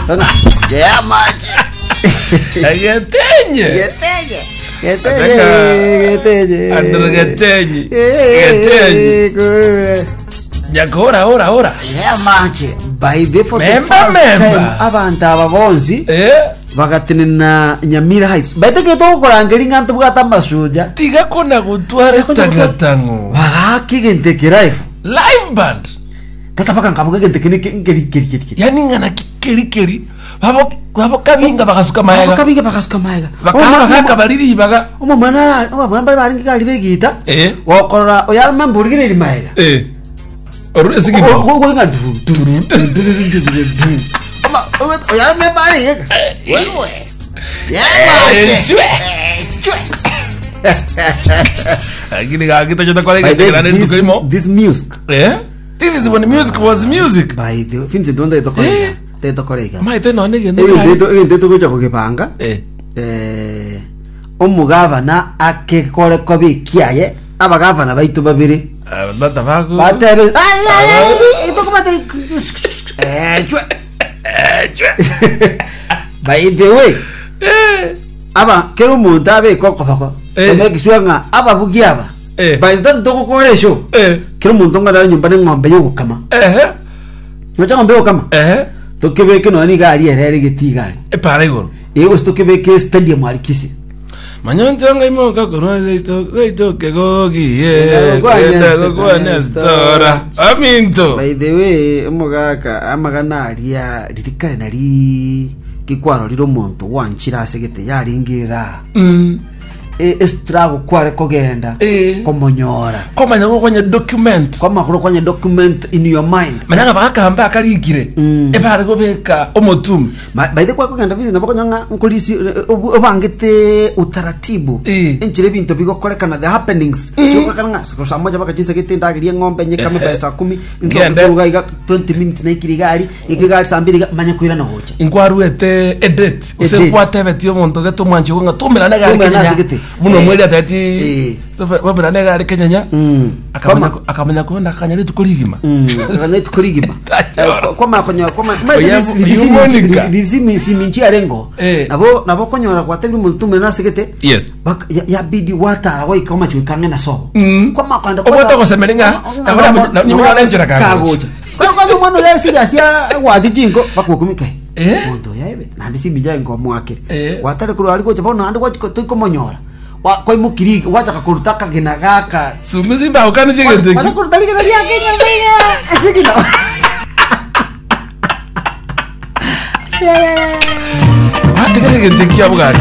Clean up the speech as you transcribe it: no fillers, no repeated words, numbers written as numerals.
Yeah, mache. Getenye. Getenye. Getenye. Ataka- Getenye. Andro Getenyi. Getenyi. Getenye. Nyakora ora ora. Yeah, mache. By the for the Member, first member. time abantu aba bonsi Eh? bagatenena Nyamira Heights. Baete getokorangeria ng'a ntobwate amasuja. Tiga kona gotwara etangatango. Bagaka egento eke live. Live band. Tata mpaka nkaboka egento eke neke- nkeri keri keri keri. Yani ng'ana keri keri. Babo babo kabinga bagasuka maega. Bakabinga bagasuka maega. Bakaba bagaka bari ribaga. Omomwana omomwana mbare barenge gari begita. Eh. Gokorora oyarome mburigereiri maega. Eh. Orure sigino. Goinga du du du du du du du. Oma oyarome bare yega. Wewe. Eh, chwe. Lakini gakita chota kwa By the rege this, tukaimo. this music Eh? This is when music was music. by the Vincent donde tokorega. Tetokorega. Maite none gendo. Egento egento togocha kogepanga. Eh. Eh omugavana akekore kobe ekiaye abagavana baito babere Ah, Bata bako. batebe "Ai, ai, ai, itokomate eh, chwe." Eh, chwe. by the way Eh. aba kera omonto abeke okoboko Eh. omekiswa ng'a ababugi aba Eh. by the time togokora esho Eh. kera omonto ng'a nyomba ne eng'ombe yogokama Ehe. nocha eng'ombe yogokama Ehe. tokebeke nonya niga aria ere ere getii iga aria Epara igoro. Ee gose tokebeke estadium aria Kisii. Manyoncho ngaimoka korwa seito seito kegogie Genda gokwana genda Esther, gokwana Estora aminto By the way, omogaka amagana aria riri kare nari kikwarorire omonto gwanchire ase gete yarenge era Mm. E- estruggle kware kogenda Eh. komonyora komanya gokonya document kwamakoro kwanya document in your mind manya ng'a bagakamba akarikire Mm. ebare gobeka omotume Ma- by the way kwakogenda visit nabo konya ng'a nkorisi eh, obangete utaratibu Eh. enchera ebinto bigokorekana the happenings chigokorekana ng'a siku saa moja bakachisegete endageria eng'ombe nyekame by saa kumi nsoke Ngende. koruga iga 20 minutes naikire iga aria ng'ike iga aria saa mbiri iga manye koirana gocha Inkwaruete edate gose Edate. nkwatebetie omonto gete omwanchi ogo ng'a toumerane egari Toumerane kenyanya ase gete. buna Eh. omweri atebeti Eh. baumerane egari kenyanya Mm. akamanya Kwama- akamanya kona akanya rituko rigima Mm, akanya rituko rigima Tachora. Eh, kwamanya konyora kwamanya Oya- oya Monica. risiminchi arengo Eh. nabo nabo konyora gwatebire omonto toumerane ase gete Yes. Bak- ya- yabidi gwatara goika omache goika ang'e na sobo Mm. Kwamanya kogenda Obwate ogosemeria ng'a, nabo nabo- nabo nyuma yone enchera kagocha. kagocha Kwani kwani omwana oria serious agwati chinko bakokumika Eh? Monto oyo aebe naende simi yaye nkomoakere Eh. gwatare korwa aria gocha bono naende gwachi toikomonyora Wa- kwaimokirie iga gwachaka koruta akagena gaka Sumi simbaukani chigento Gwacha eki. koruta rigena riake nyomba iga ase ekina Gwatigera egento eki abwo gaki.